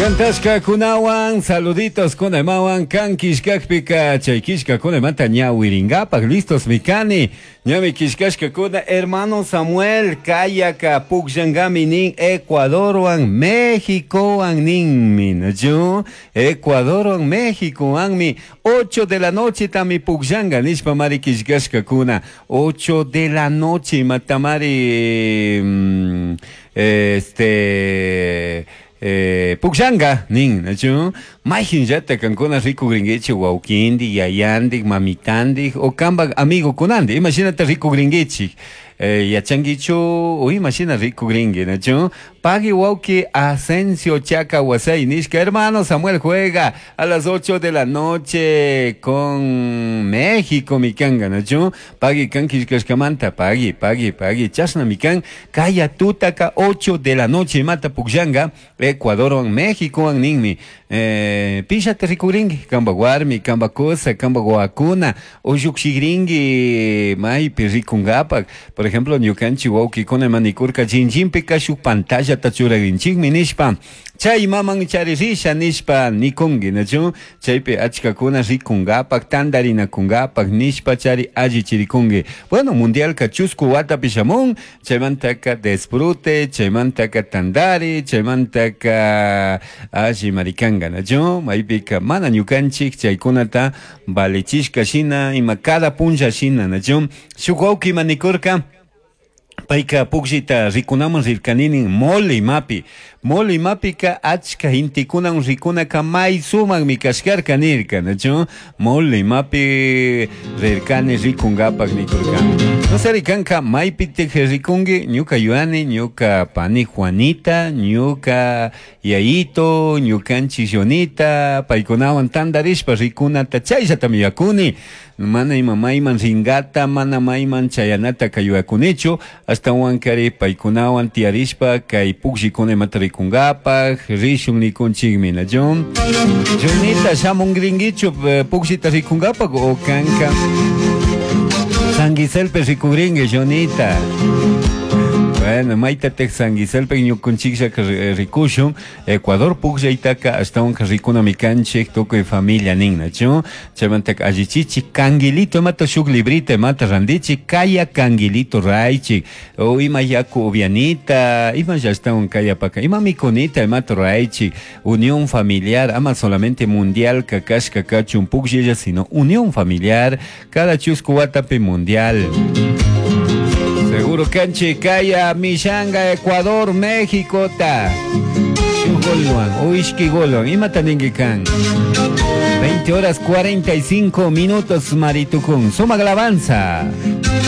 Cantashkakunawan, saluditos kunaymawan, kan killkakpika chay killkakunamanta ñawirinkapak listos mikani. Ñami killkashkakuna hermano Samuel kayaka pukllankami nin Ecuadorwan Mexicowan ninmi, nachu? Ecuadorwan Mexicowanmi 8 de la noche tami pukllanka nishpa mari killkashkakuna. 8 de la noche imatamari este pukllanka nin, nachu? Mayhinllata kankuna rikukrinkichik wawkindik, yayandik, mamitandik o kanpak amigukunandik imashinata rikukrinkichik. Yachankichu o imashina rikukrinki, nachu? Pagui wawki Asensio Chaca Wasay nishka hermano Samuel juega a las 8 de la noche con México mikanga, nachu? Pagui kan killkashkamanta, pagui, pagui, pagui, chashna mikan kaya tutaka 8 de la noche imata pukllanka Ecuadorwan Mexicowan ninmi. Pillata rikukrinki, kanpak warmi, kanpak kusa, kanpak wawakuna, o llukshikrinki maypi rikunkapak. Por ejemplo, ñukanchik wawkikuna ima nikurka chinchinpika shuk pantallata churarinchikmi nishpa, chay maman charirisha nishpa nikunki, nachu? Chaypi achkakuna rikunkapak, tantarinakunkapak nishpa chari allichirikunki. Bueno, mundialka chusku watapi shamun, chaymantaka disfrute, chaymantaka tantari, chaymantaka alli marikanka, nachu? Maypika mana ñukanchik chaykunata valichishka shina, ima cada punlla shina, nachu? Shuk wawki ima nikurka, payka pukllita rikunaman rirkaninin mole imapi. Mole imapika achka gentekunan rikunaka may sumakmi kashkarka nirka, nachu? Mole imapi rirkani rikunkapak nikurkani. No sé, rikanka maypitik rikunki, ñuka yuyani, ñuka pani Juanita, ñuka yayito, ñukanchik Jonita, paykunawan tantarishpa rikunata chayllatami yuyakuni. Mana ima mayman ringata, mana mayman chayanata kayuyakunichu, ashtawankari paykunawan tiyarishpa kay pukllikuna imata rikunkapak, rishun nikunchikmi, nachu? Jonita, shamunkrinkichu pukllita rikunkapak o kanka San Giselpe rikukrinki, Jonita. Bueno, maytatik San Giselpe ñukunchikllaka rikushun, Ecuador pukllaytaka ashtawanka rikunami kanchik tukuy familia nin, nachu? Chaymantaka allichichik canguilito imata shuk librita imata randichik kaya canguilito raychik o ima yaku upianita, ima ashtawan kayapaka ima mikunita imata raychik, unión familiar, ama solamente mundial kashka kachun pukllalla, sino unión familiar, cada chusku watapi mundial. Seguro kanchik kaya mishanga Ecuador México ta. Shuk golwan o ishki golwan, imata ninki kan. 20 horas 45 minutos maritukun. Sumak alabanza.